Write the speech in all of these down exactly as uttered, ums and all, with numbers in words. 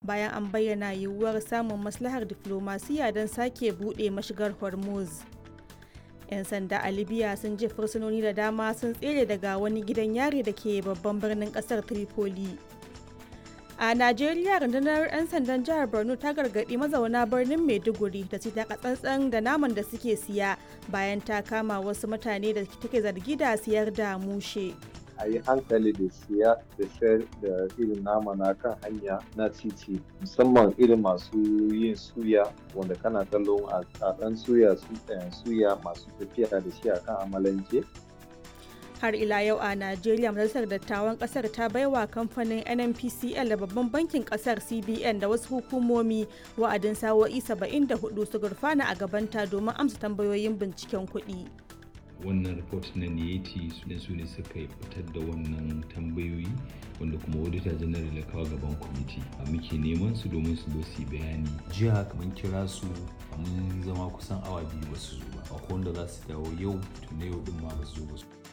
bayan an bayyana yiwuwar samun maslahar diflomasiya don sake buɗe mashigar Hormuz. 'Yan sanda a Libya sun ce fursunoni da dama sun tsere daga wani gidan yari da ke babban birnin kasar Tripoli. A Najeriya, rundunar 'yan sandan jihar Borno ta gargaɗi mazauna birnin Maiduguri da su taka tsantsan da naman da suke siya bayan ta kama wasu mutane da take zargi da siyar da mushe. A yi hankali da siya da sayar da irin nama na kan hanya na titi, musamman irin masu yin suya, wanda kana kallon a ɗan suya su suya masu tafiya da shi akan amalanke. Har ila yau a Najeriya, Majalisar Dattawan kasar ta baiwa kamfanin N N P C L da Babban Bankin kasar C B N da wasu hukumomi wa'adin sa'o'i saba'in da huɗu su gurfana a gabanta domin amsa tambayoyin binciken kuɗi. Wannan report na N I E T su ne su ne suka fitar da wannan tambayoyi, wanda kuma Auditor General ya kawo gaban kwamiti. Muke neman su domin su zo su yi bayani. Jiya mun kira su, mun zama kusan awa biyu ba su zo ba. Akwai wanda za su dawo yau, to na yau din ma ba su zo ba.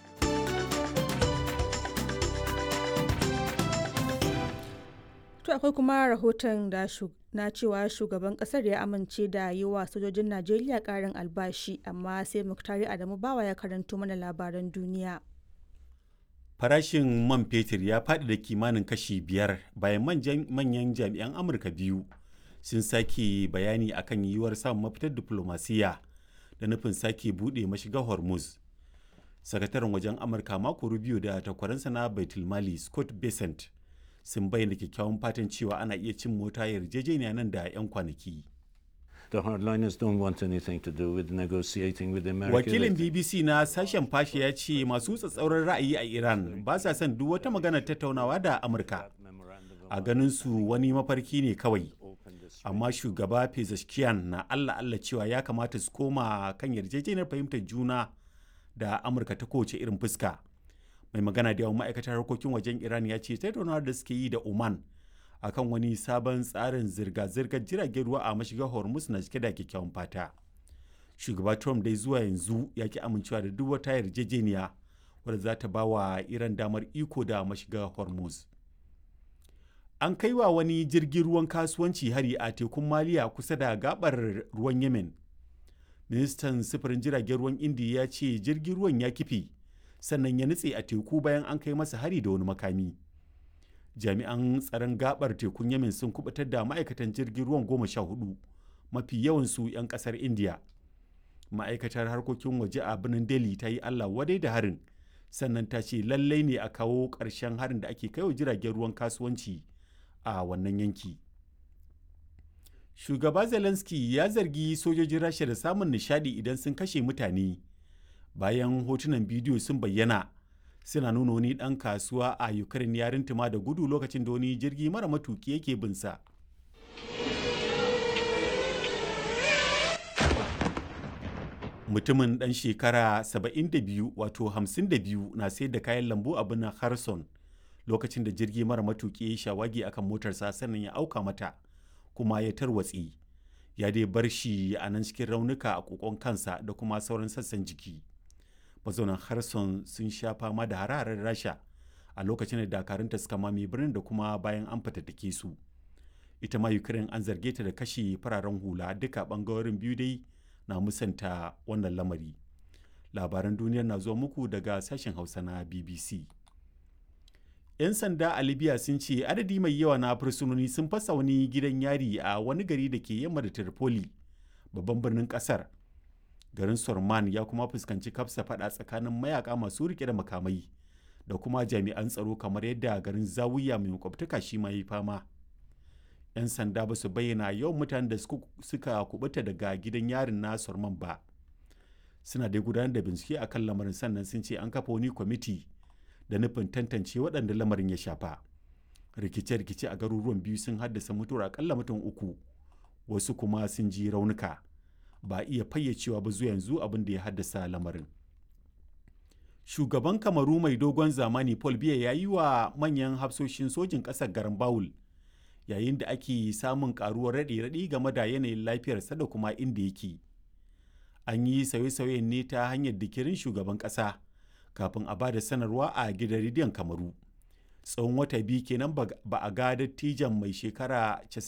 To akwai kuma rahoton da na cewa shugaban kasar ya amince da yi wa sojojin Najeriya karin albashi, amma sai Muktari Adamu Bawa ya karanto mana labaran duniya. Farashin man fetur ya faɗi da kimanin kashi biyar bayan manyan jami'an Amurka biyu sun sake bayani akan yiwuwar samun mafitar diflomasiyya da nufin sake buɗe mashigar Hormuz. Sakataren wajen Amurka Marco Rubio da takwaransa na Baitulmali Scott Bessent sun bayyana kyakkyawan fatan cewa ana iya cin mota yarjejeniya nan da 'yan kwanaki. Wakilin B B C na sashen Fashe ya ce masu tsatsauran ra'ayi a Iran ba sa son duk wata magana tattaunawa da Amurka. A ganin su wani mafarki ne kawai. Amma shugaba Pezeshkian na Allah Allah cewa ya kamata su koma kan yarjejeniyar fahimtar juna da Amurka ta kowace irin fuska. Mai magana da yawan ma'aikatar harkokin wajen Iran ya ce tattaunawar da suke yi da Oman akan wani sabon tsarin zirga-zirgar jiragen ruwa a mashigar Hormuz na cike da kyakkyawan fata. Shugaba Trump dai zuwa yanzu ya ki amincewa da duk wata yarjejeniya wadda za ta ba wa Iran damar iko da mashigar Hormuz. An kai wa wani jirgin ruwan kasuwanci hari a tekun Maliya kusa da gabar ruwan Yemen. Ministan sufurin jiragen ruwan Indiya ya ce jirgin ruwan ya kife sannan ya nutse a teku bayan an kai masa hari da wani makami. Jami'an tsaron gabar tekun Yemen sun kubutar da ma'aikatan jirgin ruwan goma sha hudu, mafi yawansu 'yan kasar India. Ma'aikatar harkokin waje a birnin Delhi ta yi Allah wadai da harin, sannan ta ce lallai ne a kawo ƙarshen harin da ake kaiwa jiragen ruwan kasuwanci a wannan yanki. Shugaba Zelensky ya zargi sojojin Rasha da samun nishadi idan sun kashe mutane, bayan hotunan bidiyo sun bayyana suna nuna wani ɗan kasuwa a Ukraine ya rintuma da gudu lokacin da wani jirgi mara matuki yake binsa. Mutumin ɗan shekara saba'in da biyu, wato hamsin da biyu, na sayar da kayan lambu a birnin Kherson lokacin da jirgi mara matuki ya shawagi akan motarsa, sannan ya auka mata kuma ya tarwatse. Ya dai bar shi a nan cikin raunuka a kokon kansa da kuma sauran sassan jiki. Mazaunan Kherson sun sha fama da hararen Rasha a lokacin da dakarunta suka mame birnin da kuma bayan an fatattake su. Ita ma Ukraine an zarge ta da kashe fararen hula. Duka bangarorin biyu dai na musanta wannan lamari. Labaran duniyar na zuwa muku daga sashen Hausa na B B C. 'Yan sanda a Libya sun ce adadi mai yawa na fursunoni sun fasa wani gidan yari a wani gari da ke yamma da Tripoli, babban birnin kasar. Garin Sorman ya kuma fuskanci kafsa fada tsakanin mayaka masu rike da makamai da kuma jami'an tsaro, kamar yadda garin Zawiya mai makwabtaka shi ma yi fama. 'Yan sanda ba su bayyana yawan mutanen da suka kubuta daga gidan yarin na Sorman ba. Suna dai gudanar da bincike akan lamarin, sannan sun ce an kafa wani kwamiti da nufin tantance waɗanda lamarin ya shafa. Rikice-rikice a garuruwan biyu sun haddasa mutuwar akalla mutum uku, wasu kuma sun ji raunuka. Ba iya fayyacewa ba zuwa yanzu abin da ya haddasa lamarin. Shugaban Kamaru mai dogon zamani Paul Biya ya yi wa manyan hafsoshin sojin ƙasar garin Bawul, yayin da ake samun karuwar raɗe-raɗi game da yanayin lafiyarsa da kuma inda yake. An yi sauye-sauyen ne ta hanyar dikirin shugaban ƙasa kafin a ba da sanarwa a gidan rediyon Kamaru. Tsawon wata biyu kenan ba a ga dattijan mai shekara